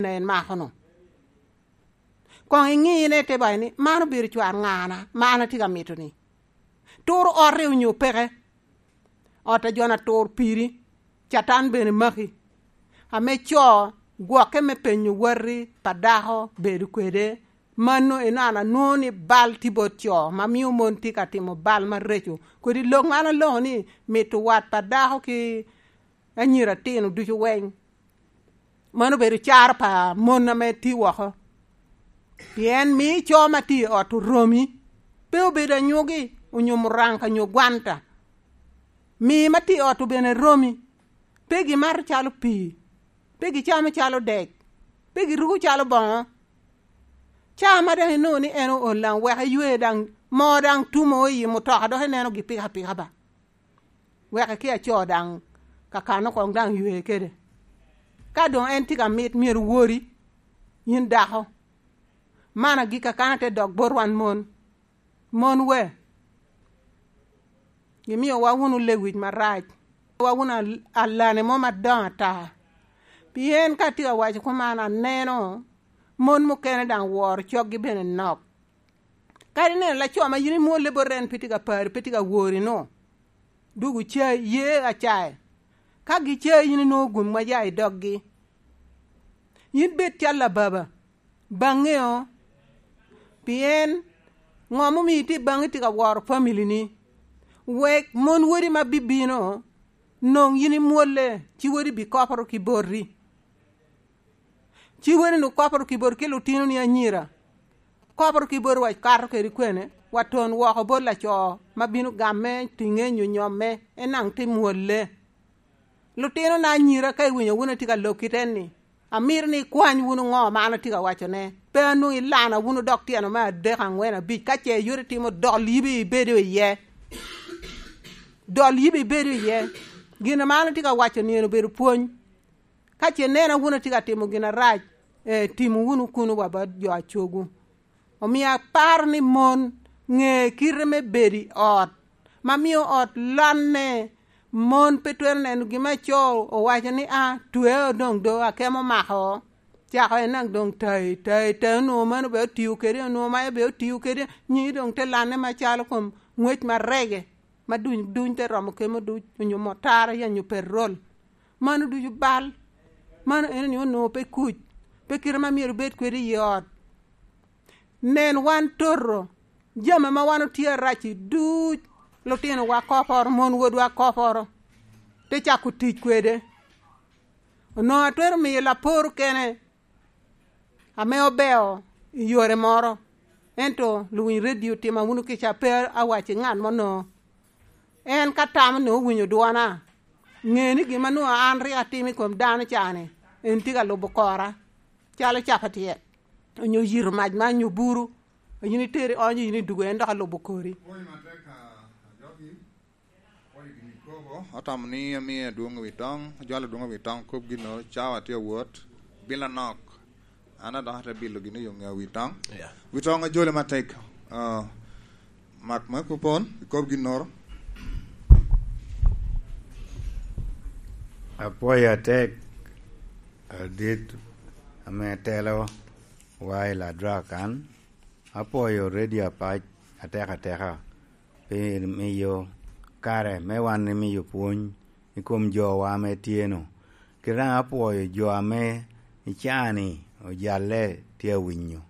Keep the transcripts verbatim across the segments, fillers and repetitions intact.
en mako-nu. Koŋ iŋine ite bayi ni, "Man obedo cwar ŋana, ma an atye ka mito-ni? Turo otte onyo peke? Ot a jo-na tur piri, Catan bene maki." Ame co gwokke me penyo wati pa dako bedo kwede, mano enano anwoŋo ni bal tye bot co, ma mio mon tye ka timo bal mareco. Kodi lok man aloko ni mito wat pa dako ki anyira tino ducu weng. Mano obedo caro pa mon ame tye woko. Pien mi co ma tye i ot oromi, pe obedo anyogi, onyo muranga, onyo gwanta. Mi ma tye i ot obene romi, pe gimato calo pii, pe gicamo calo dek, pe giruko calo boŋo. Caa ma daŋ inwoŋo ni en ool daŋ wek iywe daŋ, moo daŋ tumo i mutoka, dok ineno gi pika pika ba. Wek eki aco daŋ kakano koŋ daŋ ywe kede. Ka doŋ en tye ka mit, myero wori, yin dako. Man agikki kan ate dok bot wan mon. Mon we, gimiowa wunu lewic marac, wa wunu al-, alane mo madoŋo ata. Pien ka atye ka waco kuman, aneno mon mukene daŋ woro coggi bene nok. Kadi neno laco ma yin imwolle bot en pe tye ka pari, pe tye ka wori-nu, dwogo ca-, ye acae. Ka gicayi, yin inwoŋo gum ma ya i doggi. Yin bed cal ababa, baŋeo, pien ŋo ma omio itye baŋi tye ka woro family-ni? Wek mon wodi ma bibino noŋ yin imwolle, ci wodi bikoporo ki boti. Ci wodi-nu koporo ki boti ki lutinoni anyira. Koporo ki boti wa kato kede kwene, wa ton woko bot laco ma bino gamme, tiŋe nyo nyomme, en daŋ te mwolle. Lutinona anyira, ka iwinyo wun atye ka lok kite-ni, amito ni ikwany wunu ŋo ma an atye ka wacone. Pe anwoŋo ilana wunu dok tyeno me adek, aŋwen, abic. Ka ce yot itimo, dol yibi ibedo iye. Dol yibi ibedo iye. Gin ma an atye ka waco-ni en obedo pwony. Ka ce inena wun atye ka timo gin arac, eh, timo wunu kuno wa bot jo a cogwu. Omio aparo ni mon ŋe kite me bedo i ot, ma mio ot lanne. Mon pe twero neno gin ma co owaco ni, "A, twe doŋ do, akemo omako." Cako en daŋ doŋ tai, tai, tai, onwoŋo mano be otio kede, onwoŋo maca be otio kede, nyigi doŋ te lanne macalo kom ngwec ma rege, ma duny, duny te romo kemo duc, onyo motara, ya nyo petrol. Mano ducu bal. Mano en ni onwoŋo pe kuc, pe kite ma myero bed kwede i ot. Nen wan toto, jami ma wan otye arac-ci duc, lutinowa koporo, mon wodwa koporo, te cako tic kwede. Onwoŋo atwero miyo lapor kene ame obeo i yore moro, ento luwiny redio tima wunu kica, pe awac i ŋat mo no. En ka tamo ni owinyo dwona, ŋe ni gin ma nwoŋo an rik atimo i kom dano ca-ni, en tye ka lubo kora, calo capatyet, onyo yito mac man, onyo buru, a yin itero i onyo, yin idugo, en dok alubo kori. Pwony matek, a, ajogi. Pwony gin ikobo, atamo ni amie adwoŋ wi toŋ, ajwalo adwoŋ wi toŋ, kop ginnoro, cawa tye awot, bilo nok. An adok ate bilo gin i yo ŋe wi toŋ. Yeah. Wi toŋ ajole matek. Ah, mak me kupon, ikob ginnoro. Apwoyo atek, adit, ame telo wa i Ladrok kan. Apwoyo Radio Apac atek ateka pi miyo kare me wan imiyo pwony i kom jowa ame tye-nu. Kit daŋ apwoyo jo ame i caa-ni ojalle tye awinyo.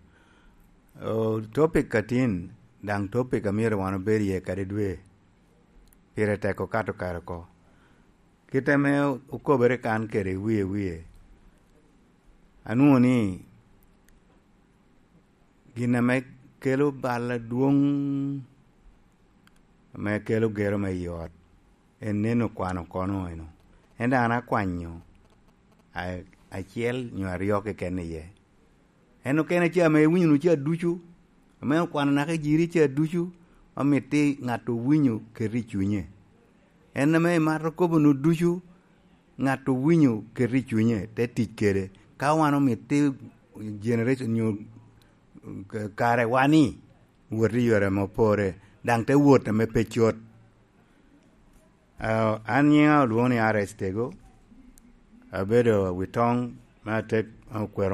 O, topic atin, daŋ topic a myero wan obed iye kadi dwe, pire tek okato kare oko. Kit ame okobere kan kede wie wie, anwoŋo ni gin ame kelo bal adwoŋ ame kelo gero me i ot, en neno kwano kono eno. En daŋ an akwanyo a-, acel nyo aryo keken iye. En okene ca ame iwinyo-nu ca ducu, ame okwano naka i jiri ca ducu, ma mitte ŋat owinyo keto i cunye. En ame imato kobo-nu ducu, ŋat owinyo keto i cunye, te tic kede. Ka wan omitte generation nyo kare wa ni, wot i yore ame opore, daŋ te wot ame pe cot. Ah, an nyiŋa olwoŋo ni R S Tego, abedo wi toŋ me atek an okwero